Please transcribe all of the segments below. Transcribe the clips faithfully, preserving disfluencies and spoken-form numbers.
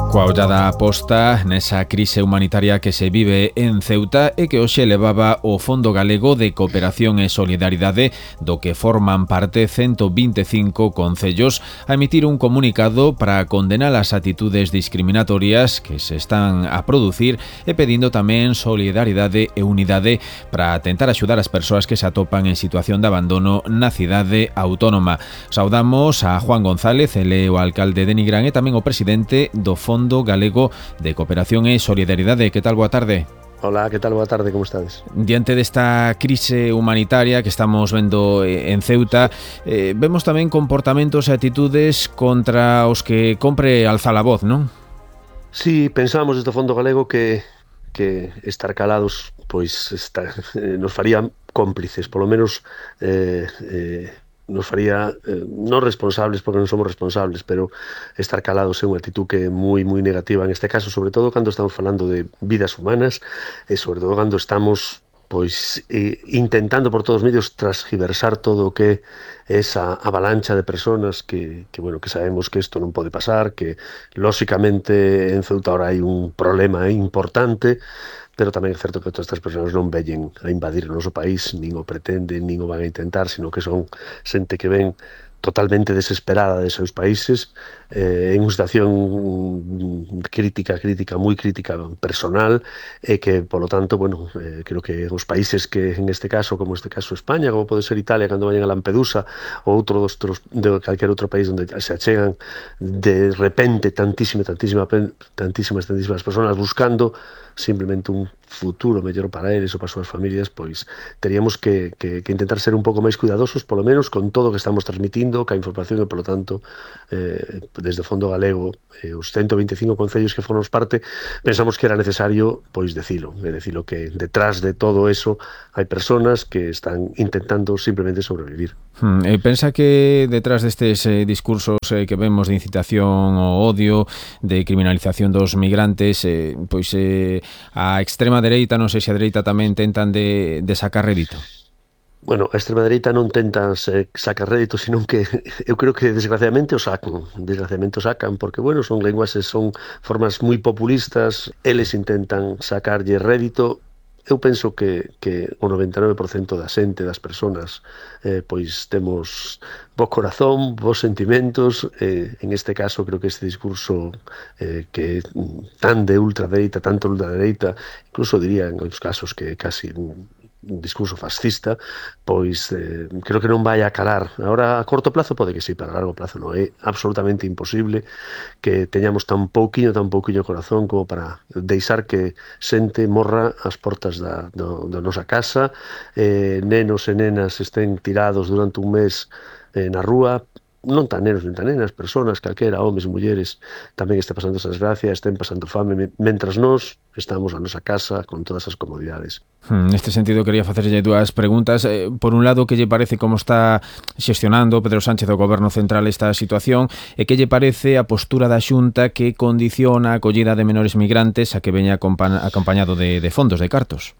Coa ollada posta nesa crise humanitaria que se vive en Ceuta e que hoxe levaba o Fondo Galego de Cooperación e Solidaridade, do que forman parte ciento vinte e cinco concellos, a emitir un comunicado para condenar as actitudes discriminatorias que se están a producir e pedindo tamén solidaridade e unidade para tentar axudar as persoas que se atopan en situación de abandono na cidade autónoma. Saudamos a Juan González, ele é o alcalde de Nigrán e tamén o presidente do Fondo Galego de Cooperación e Solidaridade. Que tal? Boa tarde. Hola, que tal? Boa tarde, como estades? Diante desta crise humanitaria que estamos vendo en Ceuta, eh, vemos tamén comportamentos e actitudes contra os que compre alzar a voz, non? Sí, pensamos desde o Fondo Galego que, que estar calados pois está, eh, nos faría cómplices, polo menos eh, eh, nos faría eh, non responsables, porque non somos responsables, pero estar calados é unha actitud que é moi, moi negativa en este caso, sobre todo cando estamos falando de vidas humanas e sobre todo cando estamos pois eh, intentando por todos os medios transgiversar todo o que é esa avalancha de personas que, que, bueno, que sabemos que isto non pode pasar, que lóxicamente en Ceuta ahora hai un problema importante, pero tamén é certo que todas estas persoas non veñen a invadir o noso país, nin o pretenden, nin o van a intentar, sino que son xente que ven totalmente desesperada de seus países, eh, en unha situación crítica, crítica, moi crítica personal, e que, polo tanto, bueno, eh, creo que os países que, en este caso, como este caso España, como pode ser Italia, cando vayan a Lampedusa, ou outro dos, de calquer outro país onde se achegan de repente tantísima, tantísima, tantísimas, tantísimas personas buscando simplemente un futuro mellor para eles ou para as súas familias, pois teríamos que, que, que intentar ser un pouco máis cuidadosos, polo menos con todo o que estamos transmitindo, ca información, e polo tanto eh, desde o Fondo Galego eh, os ciento vinte e cinco concellos que formos parte pensamos que era necesario pois decilo, é decilo que detrás de todo eso hai persoas que están intentando simplemente sobrevivir. Hmm, eh, pensa que detrás destes eh, discursos eh, que vemos de incitación ao odio, de criminalización dos migrantes, eh, pois eh, a extrema dereita, non sei se a dereita tamén tentan de, de sacar rédito. Bueno, a extrema dereita non tenta sacar rédito, senón que eu creo que desgraciadamente o sacan, desgraciadamente o sacan, porque, bueno, son lenguaxes, son formas moi populistas, eles intentan sacarlle rédito. Eu penso que, que o noventa e nove por cento da xente, das persoas, eh, pois temos bo corazón, bons sentimentos, eh, en este caso creo que este discurso eh, que é tan de ultradereita, tanto ultradereita, incluso diría en outros casos que casi un un discurso fascista, pois eh, creo que non vai a calar. Agora, a corto plazo pode que sí, pero a largo plazo non. É absolutamente imposible que teñamos tan pouquiño, tan pouquiño corazón como para deixar que xente morra ás portas da, do, da nosa casa, eh, nenos e nenas estén tirados durante un mes eh, na rúa, non tan nenos, non tan nenas, persoas, calquera, homes, mulleres, tamén este pasando esas gracias, estén pasando fame, mentras nós estamos na nosa casa con todas as comodidades. Hmm, neste sentido, quería facerlle dúas preguntas. Eh, por un lado, que lle parece como está xestionando Pedro Sánchez do Goberno Central esta situación, e que lle parece a postura da Xunta que condiciona a acollida de menores migrantes a que veña acompañado de, de fondos, de cartos?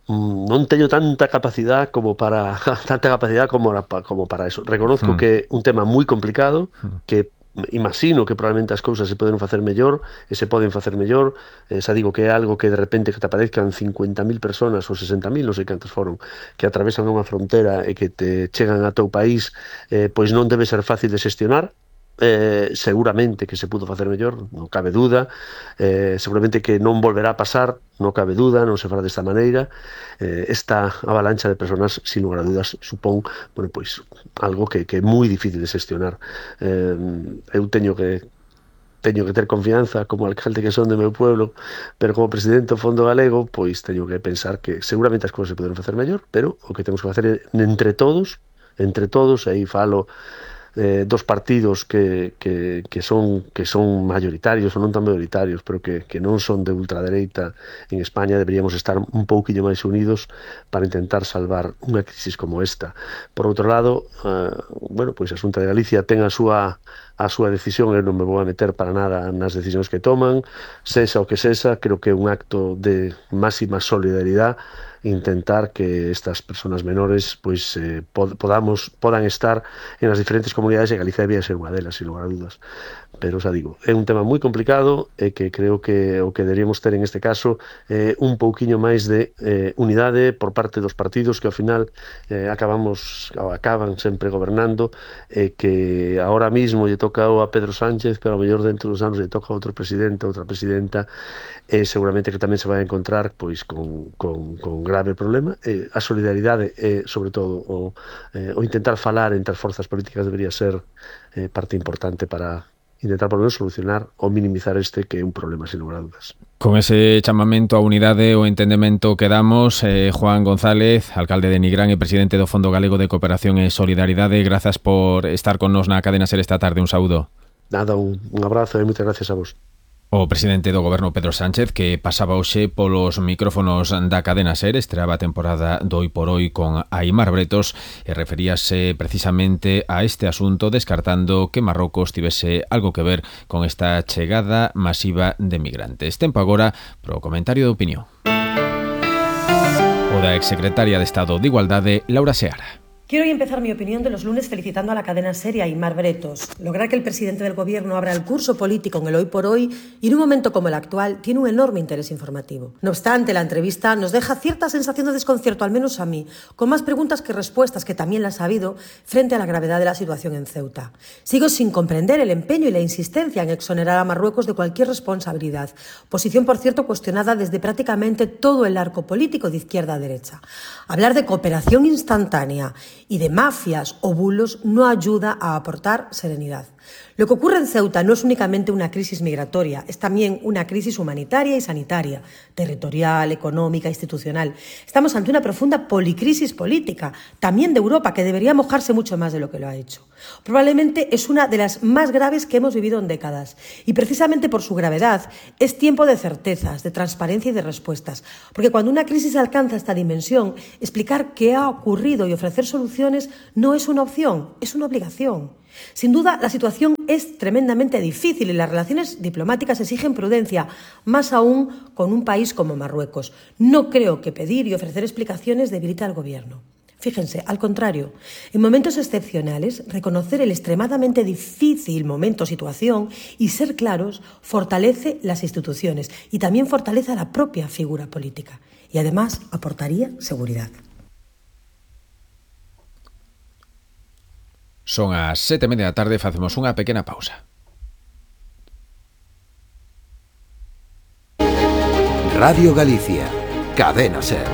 Non teño tanta capacidade como para tanta capacidade como, como para eso. Reconozco mm. que é un tema moi complicado, que imagino que probablemente as cousas se poden facer mellor e se poden facer mellor. Eh, xa digo que é algo que de repente que te aparezcan cincuenta mil personas ou sesenta mil, non sei cantos foron, que atravesan unha frontera e que te chegan a teu país, eh, pois non debe ser fácil de xestionar. Eh, seguramente que se pudo facer mellor, non cabe duda, eh, seguramente que non volverá a pasar, non cabe duda, non se fará desta maneira. Eh, esta avalancha de persoas, sin lugar a dudas, supón, bueno, pois, algo que, que é moi difícil de xestionar. Eh, eu teño que teño que ter confianza como alcalde que son do meu pueblo, pero como presidente do Fondo Galego, pois teño que pensar que seguramente as cousas se poden facer mellor, pero o que temos que facer é entre todos, entre todos, e aí falo Eh, dos partidos que, que, que, son, que son mayoritarios ou non tan mayoritarios, pero que, que non son de ultradereita en España, deberíamos estar un pouquinho máis unidos para intentar salvar unha crisis como esta. Por outro lado, eh, bueno, pois a Xunta de Galicia ten a súa a súa decisión, eu non me vou a meter para nada nas decisións que toman, sexa o que sexa, creo que é un acto de máxima solidaridade intentar que estas persoas menores pois eh, pod podamos podan estar en as diferentes comunidades e Galicia debía ser unha delas, sin lugar a dudas. Pero, xa digo, é un tema moi complicado e que creo que o que deberíamos ter en este caso é eh, un pouquiño máis de eh, unidade por parte dos partidos que ao final eh, acabamos acaban sempre gobernando e que ahora mismo lle toca a Pedro Sánchez, pero ao mellor dentro dos anos lle toca a outro presidente, outra presidenta, e seguramente que tamén se vai a encontrar pois con, con, con grave problema. E a solidaridade e, sobre todo, o, eh, o intentar falar entre as forzas políticas debería ser eh, parte importante para intentar por lo menos solucionar ou minimizar este que é un problema, sin lugar a dudas. Con ese chamamento a unidade o entendemento que damos, eh, Juan González, alcalde de Nigrán e presidente do Fondo Galego de Cooperación e Solidaridade, grazas por estar con nos na Cadena Ser esta tarde. Un saúdo. Nada, un, un abrazo e moitas gracias a vos. O presidente do Goberno, Pedro Sánchez, que pasaba hoxe polos micrófonos da Cadena Ser, estreaba a temporada do Hoy por Hoy con Aimar Bretos e referíase precisamente a este asunto, descartando que Marrocos tivese algo que ver con esta chegada masiva de migrantes. Tempo agora pro comentario de opinión. O da exsecretaria de Estado de Igualdade, Laura Seara. Quiero hoy empezar mi opinión de los lunes felicitando a la cadena Ser y a Aimar Bretos. Lograr que el presidente del gobierno abra el curso político en el Hoy por Hoy y en un momento como el actual tiene un enorme interés informativo. No obstante, la entrevista nos deja cierta sensación de desconcierto, al menos a mí, con más preguntas que respuestas, que también las ha habido, frente a la gravedad de la situación en Ceuta. Sigo sin comprender el empeño y la insistencia en exonerar a Marruecos de cualquier responsabilidad, posición, por cierto, cuestionada desde prácticamente todo el arco político de izquierda a derecha. Hablar de cooperación instantánea y de mafias o bulos no ayuda a aportar serenidad. Lo que ocurre en Ceuta no es únicamente una crisis migratoria, es también una crisis humanitaria y sanitaria, territorial, económica, institucional. Estamos ante una profunda policrisis política, también de Europa, que debería mojarse mucho más de lo que lo ha hecho. Probablemente es una de las más graves que hemos vivido en décadas, y precisamente por su gravedad es tiempo de certezas, de transparencia y de respuestas, porque cuando una crisis alcanza esta dimensión, explicar qué ha ocurrido y ofrecer soluciones no es una opción, es una obligación. Sin duda, la situación es tremendamente difícil y las relaciones diplomáticas exigen prudencia, más aún con un país como Marruecos. No creo que pedir y ofrecer explicaciones debilite al gobierno. Fíjense, al contrario, en momentos excepcionales, reconocer el extremadamente difícil momento, situación y ser claros fortalece las instituciones y también fortalece a la propia figura política y además aportaría seguridad. Son as sete e media da tarde, facemos unha pequena pausa. Radio Galicia, Cadena Ser.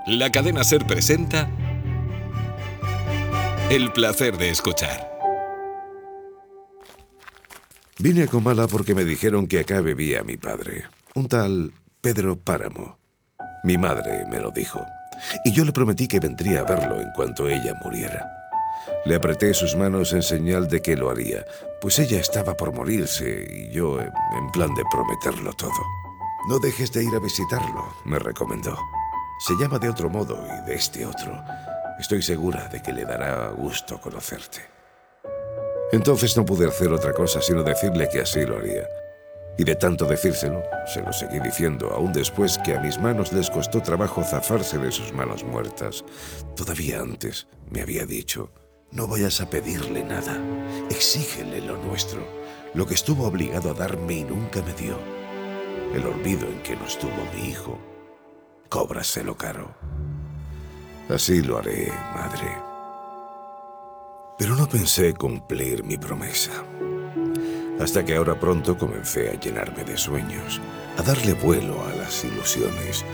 La Cadena Ser presenta El placer de escuchar. Vine a Comala porque me dijeron que acá vivía mi padre, un tal Pedro Páramo. Mi madre me lo dijo, y yo le prometí que vendría a verlo en cuanto ella muriera. Le apreté sus manos en señal de que lo haría, pues ella estaba por morirse y yo en plan de prometerlo todo. No dejes de ir a visitarlo, me recomendó. Se llama de otro modo y de este otro. Estoy segura de que le dará gusto conocerte. Entonces no pude hacer otra cosa sino decirle que así lo haría. Y de tanto decírselo, se lo seguí diciendo, aún después que a mis manos les costó trabajo zafarse de sus manos muertas. Todavía antes me había dicho, no vayas a pedirle nada, exígele lo nuestro, lo que estuvo obligado a darme y nunca me dio. El olvido en que nos tuvo mi hijo, cóbraselo caro. Así lo haré, madre. Pero no pensé cumplir mi promesa. Hasta que ahora pronto comencé a llenarme de sueños, a darle vuelo a las ilusiones.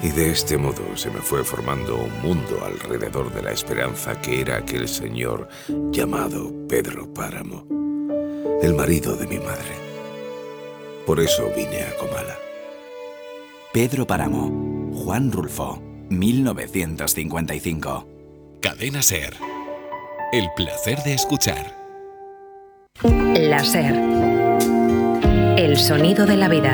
Y de este modo se me fue formando un mundo alrededor de la esperanza que era aquel señor llamado Pedro Páramo, el marido de mi madre. Por eso vine a Comala. Pedro Páramo, Juan Rulfo, mil novecientos cincuenta y cinco. Cadena Ser. El placer de escuchar. La Ser. El sonido de la vida.